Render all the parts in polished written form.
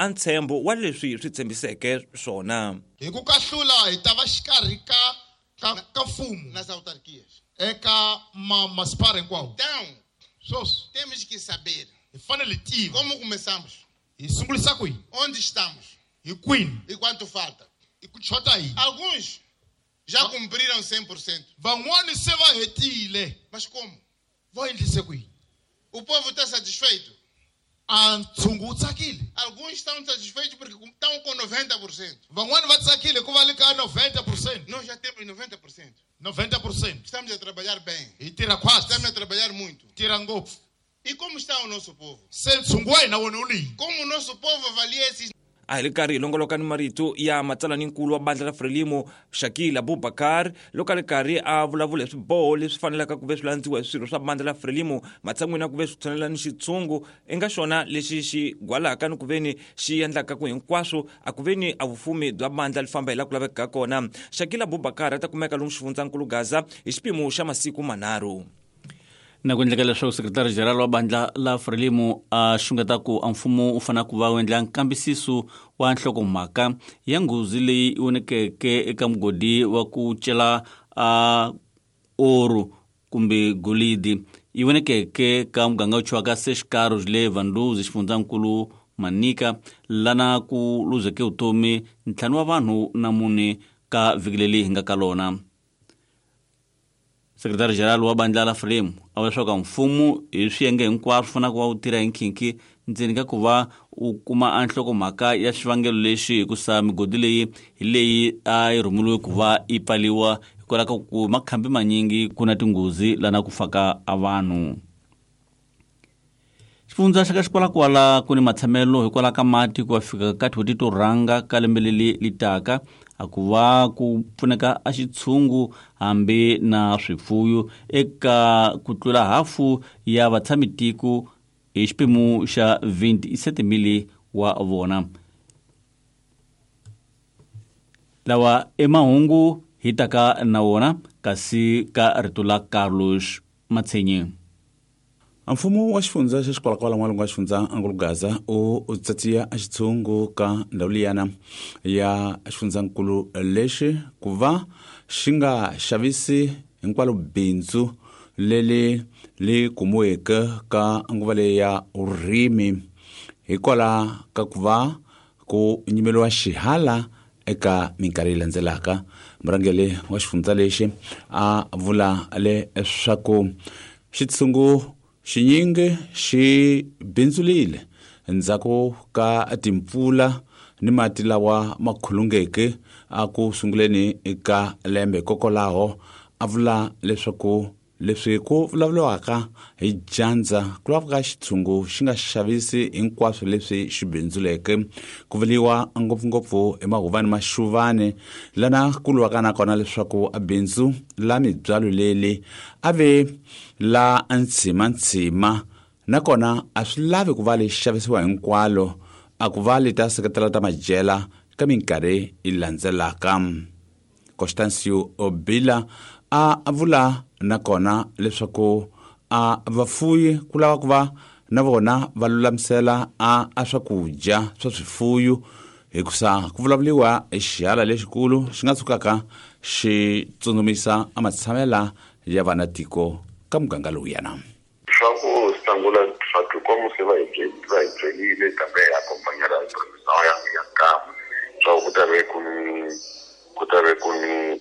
a ntshembo wa leswi swi tshembiseke swona. Hi ku kahlula hi ta va xikarhi ka ka ka mfumo nas autarquias. Eka ma masipala hinkwawo. Então, Sweswi temos que saber hi fanele hi tiva como começamos, hi sungulisa kwihi, onde estamos hi kwini, e quanto falta. I ku chota yini. Alguns já cumpriram 100%, Van'wani se va hetile. Mas como? Va endlise kwihi? O povo está satisfeito? A ntshungu wu tsakile? Alguns estão satisfeitos porque estão com 90%. Van'wani va tsakile hikuva le ka 90%. Nós já temos 90%. 90%. Estamos a trabalhar bem. Hi tirha khwatsi. Estamos a trabalhar muito. Tirha ngopfu. E como está o nosso povo? Se ntshungu wa hina wona wu ni? Como o nosso povo avalia esses A hi ri karhi hi longoloka ni marito ya matsalaninkulu wa bandla ra Frelimo, Shakil Abubakar, loko a ri karhi a vulavula hi swiboho leswi fanelaka ku ve swi landziwa hi swirho swa bandla ra Frelimo matshan'wini ya ku ve swi tshonela ni xitshungu i nga xona lexi xi gwalaka ni ku ve ni xi endlaka ku hinkwaswo a ku ve ni a vufumi bya bandla li famba hi laha ku lavekaka kona. Shakil Abubakar a ta kumeka lomu xifundzankulu Gaza hi xiphemu xa masiku manharhu. Na ku endleka leswaku sekretari general wa bandla la Frelimo a xungeta ku a mfumo wu fanele ku va wu endla nkambisiso wa nhlokomhaka ya nghozi leyi vonekeke eka mugodi wa ku cela a oru kumbe golidi yi vonekeke ka muganga wu thyiwaka Seshikaro le Vanduzi, xifundzankulu Manica, lana ku luzeke vutomi 5 wa vanhu na 4 ka vhiki leri hi nga ka lona. Sekretari general wa bandla la Frelimo a vula leswaku mfumo hi swiyenge hinkwaswo fanele ku va wu tirha hi nkhinkhi ndzeni ka ku va wu kuma a nhlokomhaka ya xivangelo lexi, hikusa migodi leyi hi leyi a yi rhumeriwe ku va yi pfaliwa hikwalaho ka ku makhambi manyingi ku na tinghozi lana ku faka a vanhu. Xifundza xa ka Xikwalakwala ku ni matshamelo hikwalaho ka mati ku ya fika ka tin'hweti to rhanga ka lembe leri li taka, a ku va ku pfuneka a xitshungu hambi na swifuyo eka ku tlula hafu ya vatshamitiko hi xiphemu xa 27 wa vona. Lawa i mahungu hi taka na wona kasi ka rito la Carlos Matshenye. Mfumo wa xifundza xa Xikwalakwala n'walungu wa xifundza Angulu Gaza u tsatsiya xitshungu ka ndhawu liyana ya xifundzankulu lexi ku va xi nga xavisi hinkwalo bindzu leri li kumiweke ka nguva leyi ya vurimi hikwalaho ka ku va ku nyimeriwa xihala eka minkarhi leyi landzelaka. Murhangeri wa xifundza lexi a vula leswaku xitshungu xinyingi xi bindzulile endzhaku ka timpfula ni mati lawa ma khulungeke a ku sunguleni ka lembe. Hikokwalaho a vula leswaku leswi ku vulavuriwaka hi dyandza ku laveka xitshungu xi nga xavisi hinkwaswo leswi xi bindzuleke, ku vuriwa ngopfungopfu hi mahuvani maxuvani lana ku lwiwaka na kona leswaku a bindzu la mibyalo leli a ve la ntshimantsima, nakona a swi lavi ku va li xavisiwa hinkwalo, a ku va li ta seketela ta madyela ka minkarhi yi landzelaka. Constancio Obila a vula nakona leswaku a vafuyi ku lava ku va na vona va lulamisela a swakudya swa swifuyo, hikusa ku vulavuriwa hi xihala lexikulu xi nga tshukaka xi tsundzumisa a matshamela ya vana tiko ka muganga lowuyana. Swa ku sungula swa tikomo se va hi va hi byerile kambe hi accompanyela hi ndhawu ya nkama swa ku ta ve ku ni ku ta ve ku ni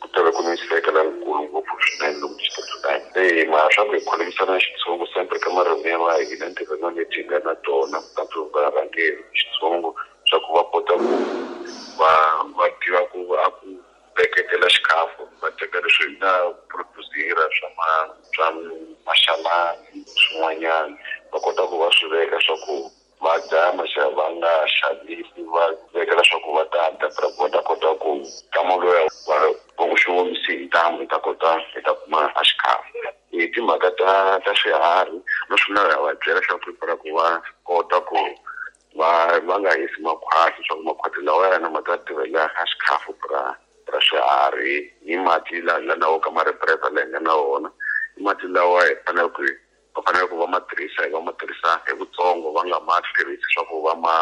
ku ta ve ku ni nsekelo lowukulu ngopfu swinene lomu xitshunxo. Se mara swa ku hi kholomisana xitshungu sempre ka marimi ya va hina ntirhweni leti hi nga na tona tanto varhangeri xitshungu swa ku va kota ku va tiva ku a ku veketela xikhafu va teka leswi hi nga produce-ra swa swa maxalani swin'wanyana va kota ku va swi veka swa ku va dya va nga xavisi va vekela swa ku va ta dya va ta kota ku nkama lowuya va ku xi omisi hi ntamu hi ta kota hi ta kuma a xikhafu. Hi timhaka ta swiharhi no swi na va byela swa ku prepare ku va kota ku va nga hisi makhwati swa ku makhwati lawa yana ma ta tirhela a xikhafu ra swiharhi hi mati la na wo ka ma ri prepare la hi nga na wona i mati lawa hi faneleke ku va fanele ku va ma tirhisa hi va ma tirhisa hi vutsongo va nga ma tirhisi swa ku va ma